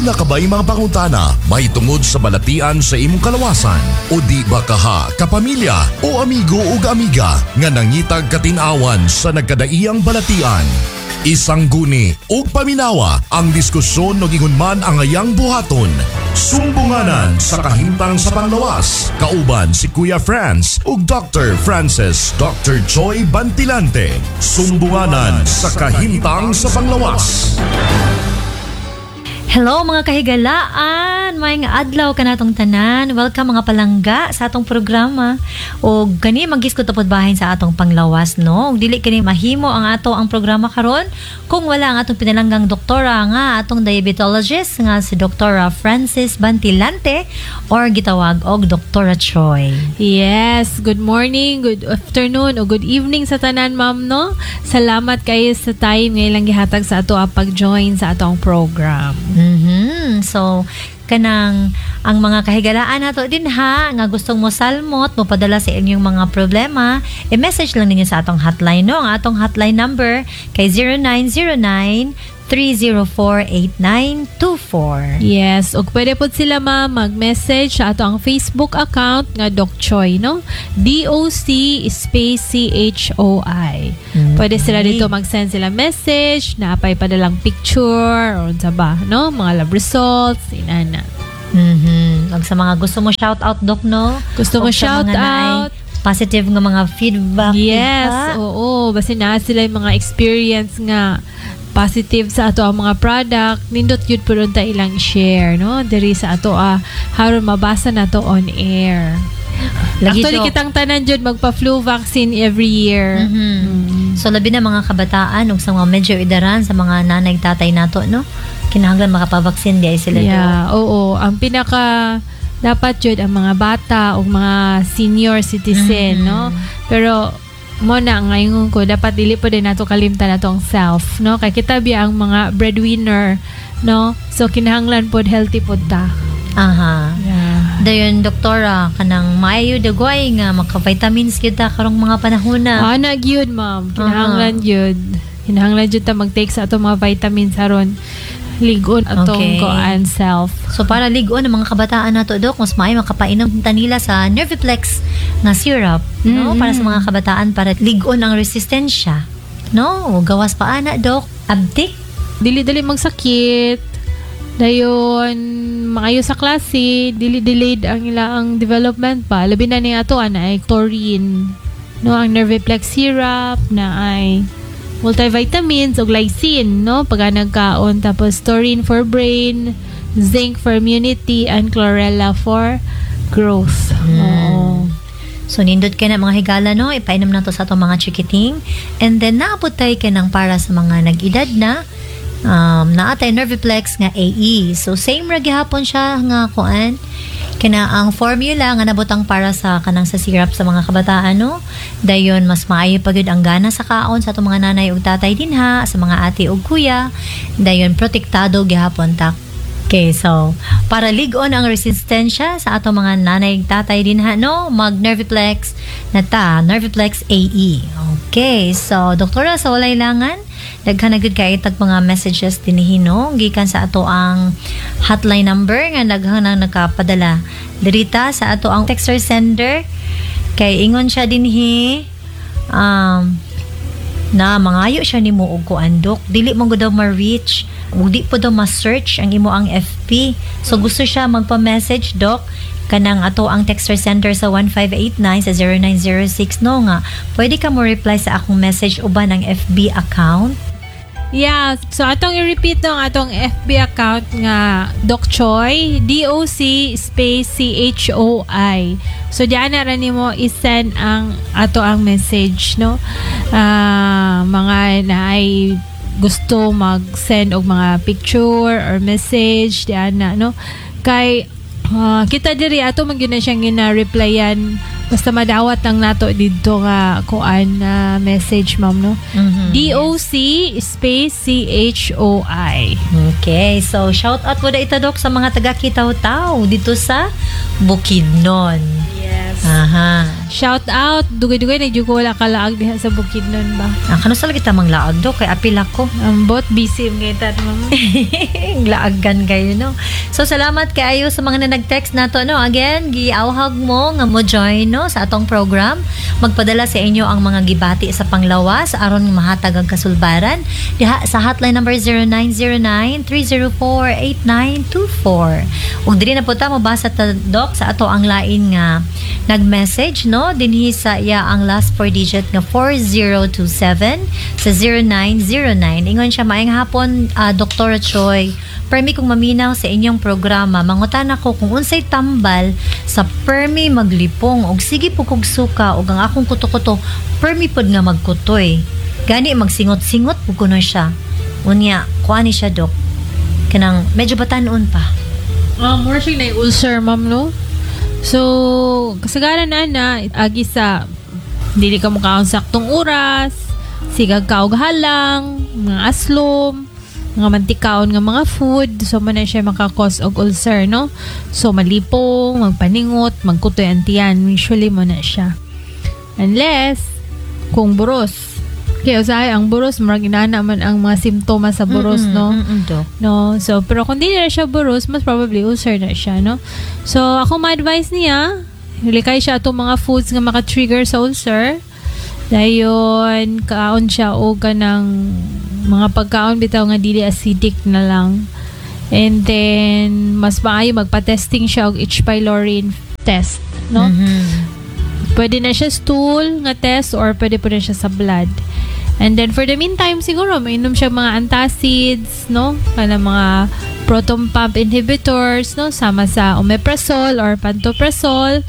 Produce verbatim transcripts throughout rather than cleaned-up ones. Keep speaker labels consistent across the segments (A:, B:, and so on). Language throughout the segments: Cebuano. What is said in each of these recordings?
A: Naa ka ba'y mga pangutana mahitungod sa balatian sa imong kalawasan o di ba kaha kapamilya o amigo ug amiga nga nangitag katin-awan sa nagkadaiyang balatian? Isangguni ug paminawa ang diskusyon ug ingon man ang ayang buhaton. Sumbunganan sa kahimtang sa panglawas. Kauban si Kuya Franz ug Doctor Francis Doctor Choi Bantilante. Sumbunganan sa kahimtang sa panglawas.
B: Hello, mga kahigalaan! Maayong adlaw kanatong tanan. Welcome, mga palangga, sa atong programa. O gani maghisgot ta pod bahin sa atong panglawas, no? Ug dili kini mahimo ang ato ang programa karon kung wala ang atong pinalanggang doktora nga atong diabetologist nga si Doktora Francis Bantilante or gitawag og Doktora Choi.
C: Yes, good morning, good afternoon, o good evening sa tanan, ma'am, no? Salamat kayo sa time nga ilang gihatag sa ato ang pag-join sa atong program.
B: Mhm. So kanang ang mga kahigalaan nato din ha nga gustong mo salmot, mo padala sa inyong mga problema, i-message lang ninyo sa atong hotline, no? Ang atong hotline number kay zero nine zero nine three zero four, eight nine two four.
C: Yes, ug pwede pod sila, ma'am, mag-message sa ato ang Facebook account nga Doc Choi, no? D O C space C H O I. Pwede sila dito mag-send sila message, napay padalang picture or unsa ba, no? Mga lab results, inana.
B: Mhm. Ug sa mga gusto mo shout out, doc, no?
C: Gusto mo
B: Ug sa
C: shout
B: mga naay
C: out.
B: Positive nga mga feedback.
C: Yes,
B: diba?
C: Oo. Basta na sila yung mga experience nga positive sa ato ang mga product, nindot yun po ta ilang share, no? Diri sa ato ah, haron mabasa na to on air.
B: Lagi,
C: Actually,
B: Dok.
C: Kitang tanan jud magpa-flu vaccine every year.
B: Mhm.
C: Mm.
B: So labi na mga kabataan ug sa mga medyo idaran sa mga nanay tatay nato, no? Kinahanglan makapabaksin di ay sila, Dok.
C: Yeah, oo. Ang pinaka dapat jud ang mga bata o mga senior citizen,
B: Mhm.
C: no? Pero mo na ngayon ko dapat dili pa din nato kalimtan nato ang self, no? Kay kita biya ang mga breadwinner, no? So kinahanglan pod healthy pod ta.
B: Aha.
C: Yeah.
B: Dayon, doktora, kanang maayo dagway nga maka-vitamins kita karong mga panahon na.
C: Ah, na gyud, ma'am. Kinahanglan gyud. Kinahanglan gyud ta mag-take sa atong mga vitamins aron ligon atong
B: Okay.
C: koan self.
B: So para ligon ang mga kabataan nato, dok, mas maayo makapainom ta nila sa Nerviplex nga syrup, no?
C: Mm-mm.
B: Para sa mga kabataan, para ligon ang resistensya. No, gawas pa ana, dok, abtik.
C: Dili-dili magsakit. Dayon maayo sa klase, dili delayed ang ilang development pa. Labi na ni ato ana ay taurine. No, ang Nerviplex syrup na ay multivitamins ug lysine, no? Pag nagkaon, tapos taurine for brain, zinc for immunity and chlorella for growth. Oo.
B: So nindot kay na, mga higala, no, ipainom nato sa atong mga chikiting. And then naabot tayo kay ng para sa mga nag-edad na um, naa tay Nerviplex nga A E. So same ra gihapon siya nga kuan kina ang formula nga nabutang para sa kanang sa syrup sa mga kabataan, no? Dayon mas maayo pa gyud ang gana sa kaon sa atong mga nanay ug tatay dinha, sa mga ate ug kuya. Dayon protektado gihapon ta. Okay, so para lig-on ang resistensya sa atong mga nanay ug tatay dinha, no, mag Nerviplex na ta, Nerviplex A E. Okay, so doktora, sa walay langan, daghan na gud kay tag mga messages dinhi, no, gikan sa ato ang hotline number nga daghan na nakapadala dirita sa ato ang texter sender kay ingon siya dinhi um na mangayo siya nimo og kuan, dok, dili mo gud daw ma-reach ug di po daw ma-search ang imo ang F B. So gusto siya magpa-message, doc, kanang ato ang texter center sa one five eight nine sa zero nine zero six, no, nga pwede ka mo reply sa akong message uban ang F B account.
C: Yeah, so atong i-repeat no ang atong F B account nga Doc Choi, D O C space C H O I. So diyan na ra nimo i-send ang ato ang message, no. Ah, mga naay gusto mag-send og mga picture or message diyan na, no. Kay ah, kita diri ato man gyud na siyang gina-replyan basta madawat lang nato didto nga kuan na message, ma'am, no.
B: Mhm.
C: D O C space C H O I.
B: Okay, so shout out po na ito, Dok, sa mga taga Kitaw-Taw dito sa Bukidnon.
C: Yes.
B: Aha.
C: Shout out, dugay-dugay na jud ko wala kalaag diha sa Bukidnon ba.
B: Ah, kano sa lagi tamang laag do kay apil ako.
C: Ang bot busy ngay tat mama.
B: Laagan kayo no. So salamat kaayo sa mga na nag-text nato no. Again, giawhag mo nga mo join no sa atong program. Magpadala sa inyo ang mga gibati sa panglawas aron mahatag ang kasulbaran diha sa hotline number zero nine zero nine, three zero four, eight nine two four. Ug diri na po ta mobasa ta, Doc, sa ato ang lain nga nag-message no dinhi sa iya ang last four digit nga four zero two seven sa zero nine zero nine. Ingon siya, "Maayong hapon, uh, Doctor Choi. Permi kong maminaw sa inyong programa. Mangutan ako kung unsay tambal sa permi maglipong og sige po kog suka og ang akong kuto-kuto permi pod nga magkutoy. Gani magsingot-singot pud kuno siya." Unya, kuha ni siya, Dok. Kanang medyo batanon pa.
C: Ah, more siya na ulcer, ma'am, no? So, kasagaran na na, agi sa dili ka mukaon saktong oras, sigag ka og halang, mga aslom, mga mantikaon nga mga food, so man na siya maka-cause og ulcer, no? So, malipong, magpaningot, magkutoy ang tiyan, usually mo na siya. Unless, kung buros. Kaya usahay ang buros, murag inana man ang mga simptomas sa buros,
B: Mm-mm,
C: no?
B: mm-mm, Dok.
C: No? So, pero kung di na siya buros, mas probably ulcer na siya, no? So, ako ma-advise niya, likay siya atong mga foods nga maka-trigger sa ulcer. Dayon, kaon siya o kanang mga pagkaon bitaw nga dili acidic na lang. And then, mas maayo magpa-testing siya og H. pylori test, no?
B: Mhm.
C: Pwede na siya stool nga test or pwede po na siya sa blood. And then for the meantime, siguro mainom siya mga antacids, no? Kana mga proton pump inhibitors, no? Sama sa omeprazole or pantoprazole.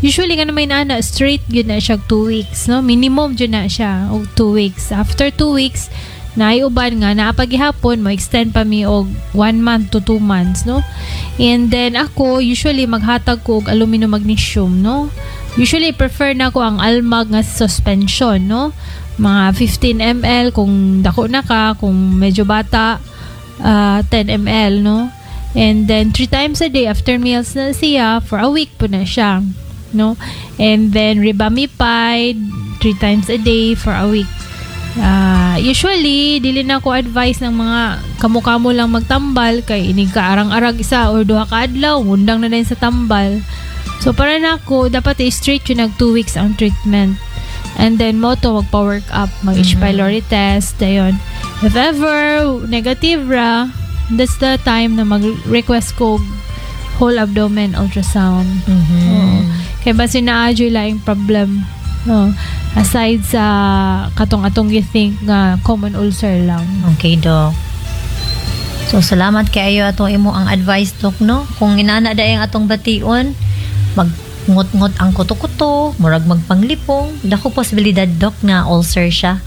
C: Usually kana may nana straight gyud na siya two weeks, no? Minimum jud na siya og two weeks. After two weeks, naay uban nga naa pa gihapon, mo extend pa mi og one month to two months, no? And then ako usually maghatag ko og aluminum magnesium, no? Usually prefer na ko ang Almag nga suspension, no? Mga fifteen milliliters kung dako na ka, kung medyo bata, ah, ten milliliters, no? And then three times a day after meals na siya for a week po na siya, no? And then rebamipide three times a day for a week. Ah, usually dili na ko advice ng mga kamo-kamo lang magtambal kay inig ka arang-arag isa or duha ka adlaw, undang na din sa tambal. So para nako dapat i-straight yun nag two weeks ang treatment. And then mo to magpa-work up, mag H. pylori test, dayon. If ever negative ra, that's the time na mag-request ko whole abdomen ultrasound.
B: Mhm.
C: Oo. Kaya basin naa juy laing problem. No. Aside sa katong atong gi-think nga common ulcer lang.
B: Okay, Doc. So, salamat kaayo atong imo ang advice, Doc, no? Kung inana daay ang atong bation, magngot-ngot ang kuto-kuto, murag magpanglipong, dako posibilidad, Doc, na ulcer siya.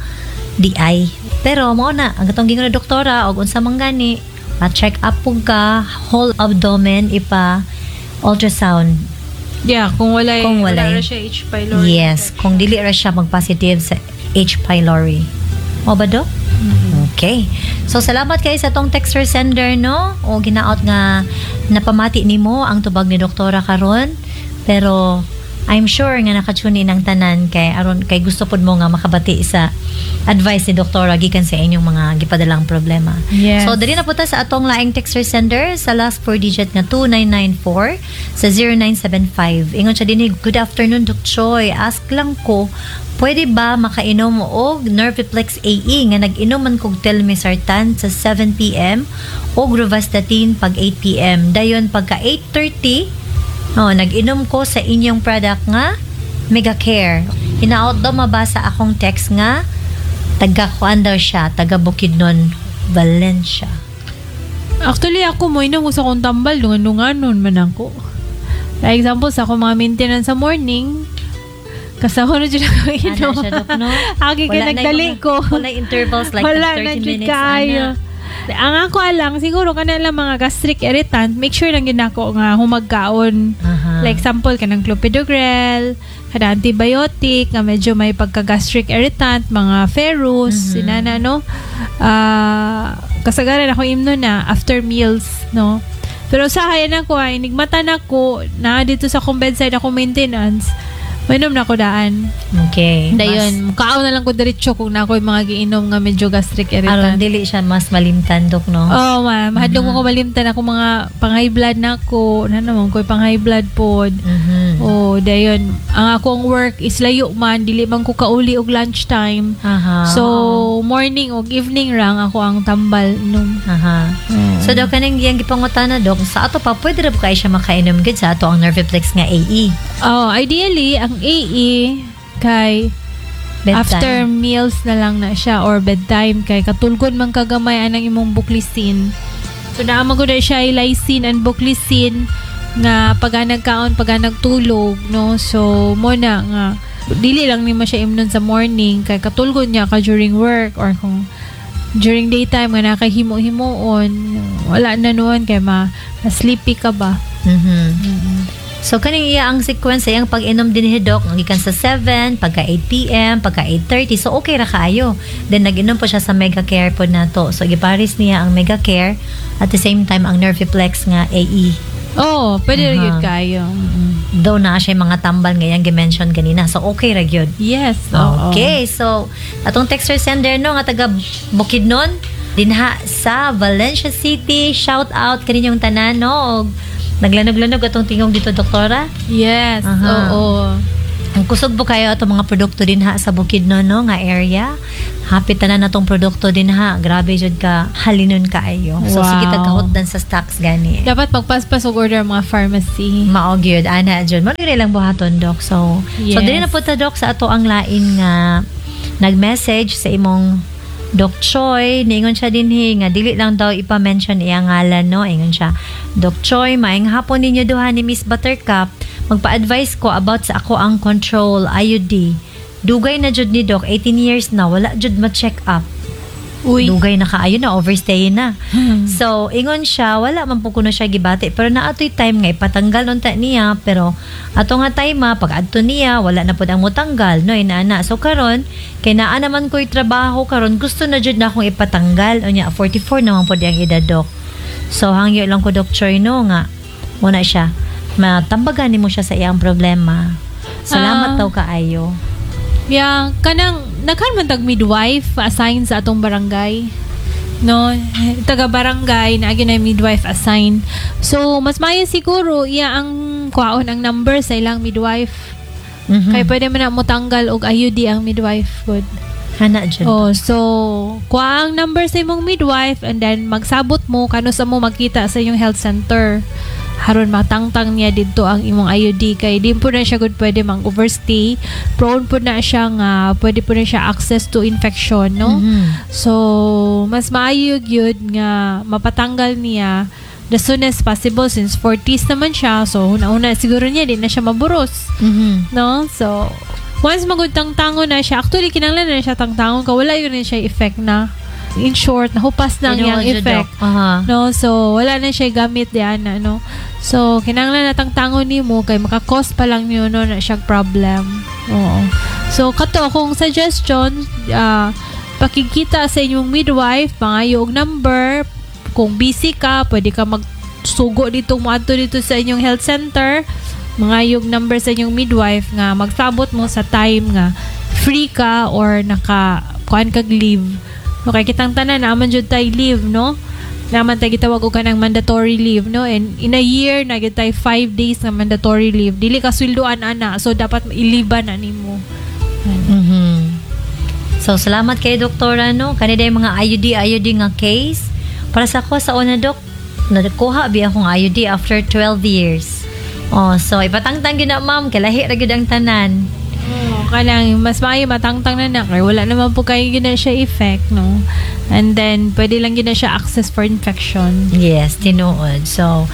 B: Di ay. Pero mao na, ang atong gingon na doktora og unsa man gani, pa-check up pug ka, whole abdomen ipa ultrasound.
C: Yeah, kung walay,
B: Kung walay.
C: Wala ra siya H. pylori.
B: Yes, kung dili ra siya mag-positive sa H. pylori. O ba, Dok? Okay. So, salamat kay sa atong texter sender, no? O ginaot nga napamati nimo ang tubag ni doktora karon. Pero I'm sure nga naka-tune in ang tanan kay aron kay gusto pod mo nga makabati sa advice ni doktora gikan sa inyong mga gipadalang problema.
C: Yes.
B: So dali na po ta sa atong laing texter sender sa last four digit nga two nine nine four sa zero nine seven five. Ingon siya dinhi, "Good afternoon, Doc Choi. Ask lang ko, pwede ba makainom og Nerviplex A E nga nag-inom man kog telmisartan sa seven p m og rovastatin pag eight p m? Dayon pagka eight thirty, oh, nag-inom ko sa inyong product nga Megacare." Hinaot daw mabasa akong text nga taga kuan daw siya, taga Bukidnon, Valencia.
C: Actually, ako mo inom ko sa akong tambal, dungan-dunganon man ako. Like example, sa akong mga maintenance sa morning, kasama na dyan ako inom.
B: Ana siya, Dok, no?
C: Agi kay
B: Wala na
C: nagdali
B: yung mga-
C: ko.
B: wala intervals like
C: Wala
B: thirty
C: na jud
B: minutes,
C: kaayo.
B: ana.
C: Ang ako lang, siguro kana lang mga gastric irritant, make sure lang yun ako nga humagkaon.
B: Aha.
C: Like example, kanang clopidogrel, kanang antibiotic, nga medyo may pagka-gastric irritant, mga ferrous,
B: Mhm.
C: sinana, no? Ah, kasagaran ako imno na after meals, no? Pero sa hayan ako, ay, nigmata na ko, na dito sa akong bedside ako maintenance, Mainom na ko daan.
B: Okay.
C: Dayon, kaon na lang ko diretso kung na ako'y mga giinom nga medyo gastric
B: Mas, aron
C: irritant.
B: dili siya mas malimtan dok no.
C: Oh, ma, mahadlok mo ko malimtan ako mga pang-high blood na ako. Na naman ko pang-high blood pod.
B: Mhm.
C: Oh, dayon, ang akong work is layo man, dili man ko kauli og lunchtime.
B: Aha.
C: So, morning og evening rang ako ang tambal inom.
B: Aha. So daw kaning iyang gipangutana dok, sa ato pa pwede ra ba kay siya makainom gid sa ato ang Nerviplex nga AE.
C: Oh, ideally ang AE kay
B: Bedtime.
C: after meals na lang na siya or bedtime kay katulgon man kagamay anang imong buclizine. So naa man gud na siya lysine and buclizine nga pag nagkaon pag nagtulog no. So mo na nga dili lang nimo siya imnon sa morning kay katulgon niya ka during work or kung during daytime nga nakahimo-himuon wala na noon kay ma, ma-sleepy ka ba.
B: Mhm. So kaning iya ang sequence sa iyang pag-inom din ni Doc, ang gikan sa seven, pagka eight p m, pagka eight thirty. So okay ra kaayo. Then nag-inom po siya sa Mega Care po nato. So giparis niya ang Mega Care at the same time ang Nerviplex nga A E.
C: Oh, pwede ra
B: Aha.
C: gyud kaayo. Mm-mm.
B: Though na siya yung mga tambal nga iyang gi-mention ganina. So okay ra gyud.
C: Yes. Oo.
B: Okay, so atong texter sender no nga taga Bukidnon dinha sa Valencia City, shout out kaninyong tanan no. Og naglanog-lanog atong tingog dito, doktora.
C: Yes.
B: Aha.
C: Oo.
B: Ang kusog po kayo atong mga produkto dinha sa Bukidnon no nga area. Happy tanan atong produkto dinha. Grabe jud ka halinon kaayo. So
C: Wow.
B: sige tagkahutdan sa stocks gani.
C: Dapat magpaspas og order ang mga pharmacy.
B: Mao gyud ana jud. Mo gyud lang buhaton dok. So so
C: Yes.
B: dili na po ta dok sa ato ang lain nga nag-message sa imong Doc Choi, niingon siya dinhi nga dili lang daw ipa-mention iyang ngalan no. Ingon siya, "Doc Choi, maayong hapon ninyo duha ni Miss Buttercup. Magpa-advise ko about sa ako ang control I U D. Dugay na jud ni Doc, eighteen years na, wala jud ma-check up."
C: Uy.
B: Dugay na kaayo na, overstay na. So, ingon siya, wala man po kuno siya gibati. Pero naatoy time nga, ipatanggal unta niya. Pero, ato nga time ma, pag adto niya, wala na pod ang motanggal. No, inaana. So, karon kay naa naman ko'y trabaho karon gusto na jud na akong ipatanggal. Unya, forty-four naman pod ang edad, Dok. So, hangyo lang ko, Doc Choi, no, nga, muna siya, matambagan nimo siya sa iyang problema. Salamat
C: Ah.
B: daw kaayo.
C: Yeah, kanang naghan man tag midwife assigned sa atong barangay. No, taga barangay na na midwife assigned. So, mas maayo siguro iya ang kuhaon ang number sa ilang midwife.
B: Mhm.
C: Kay pwede man na motanggal og I U D ang midwife good.
B: Hana jud.
C: Oh, so kuha ang number sa imong midwife and then magsabot mo kanus mo magkita sa inyong health center. Haron matangtang niya didto ang imong I U D kay di po na siya good pwede mang overstay. Prone po na siya nga pwede po na siya access to infection, no?
B: Mhm.
C: So, mas maayo gyud nga mapatanggal niya the soonest possible since forties naman siya. So, una-una siguro niya di na siya maburos
B: Mhm.
C: no? So, once magud tangtangon na siya, actually, kinahanglan na siya tangtangon ka, wala yun na siya effect na. In short, nahupas na ang iyang
B: Tinuod jud,
C: effect.
B: Doc. Aha.
C: No? So, wala na siya gamit diyan na, no? So, kinahanglan na tangtangon nimo kay maka-cause pa lang niyo no na siya problem. Oo. So, kato akong suggestion, ah, pakikita sa inyong midwife, pangayo og number, kung busy ka, pwede ka magsugo dito, moadto dito sa inyong health center, mangayog number sa inyong midwife nga magsabot mo sa time nga free ka or naka kuan kag leave. No, kay kitang tanan naman jud tay leave, no? Naman tay gitawag og kanang mandatory leave, no? And in a year na gyud tay five days nga mandatory leave. Dili ka sweldoan ana, so dapat iliban na nimo.
B: Mhm. So, salamat kay Doktora, no. Kanina yung mga I U D, I U D nga case. Para sa ako, sa una, Dok, nakuha bi akong I U D after twelve years. Oh, so, ipatangtang gyud na, ma'am. Kalahi ra gyud ang tanan.
C: Oo, kanang mas maayo matangtang na na kay wala naman po kayo gyud na siya effect, no? And then pwede lang gyud na siya access for infection.
B: Yes, tinuod. So,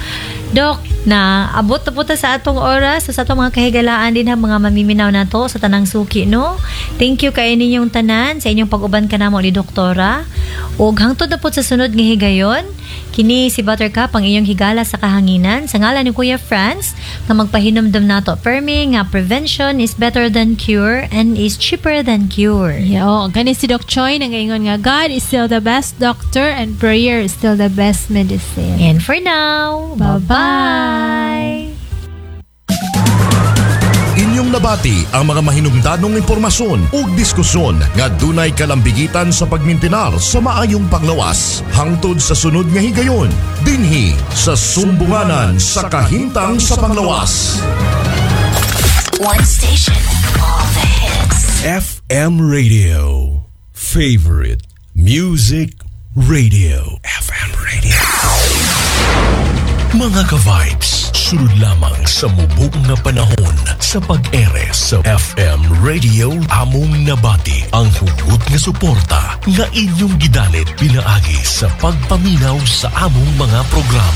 B: Dok, na abot na po ta sa atong oras, so sa atong mga kahigalaan din ha, mga mamiminaw na to sa tanang suki, no? Thank you kay ninyong tanan sa inyong pag-uban kanamo ni Doktora. Ug hangtod na po sa sunod nga higayon, kini si Buttercup ang inyong higala sa kahanginan sa ngalan ni Kuya Franz nga magpahinumdum nato permi nga prevention is better than cure and is cheaper than cure.
C: Yeah, oh, gani si Doc Choi nagaingon nga God is still the best doctor and prayer is still the best medicine.
B: And for now,
C: Bye-bye.
B: Bye-bye.
A: Inyong Inyong nabati ang mga mahinungdanong impormasyon ug diskusyon nga dunay kalambigitan sa pagmintinar sa maayong panglawas. Hangtod sa sunod nga higayon, dinhi sa Sumbunganan sa Kahimtang sa Panglawas.
D: One station, all the hits.
E: F M Radio. Favorite Music Radio. F M Radio. Mga ka-vibes, sulod lamang sa mubok nga panahon sa pag-ere sa F M Radio, among nabati ang hugot nga suporta nga inyong gidalit pinaagi sa pagpaminaw sa among mga programa.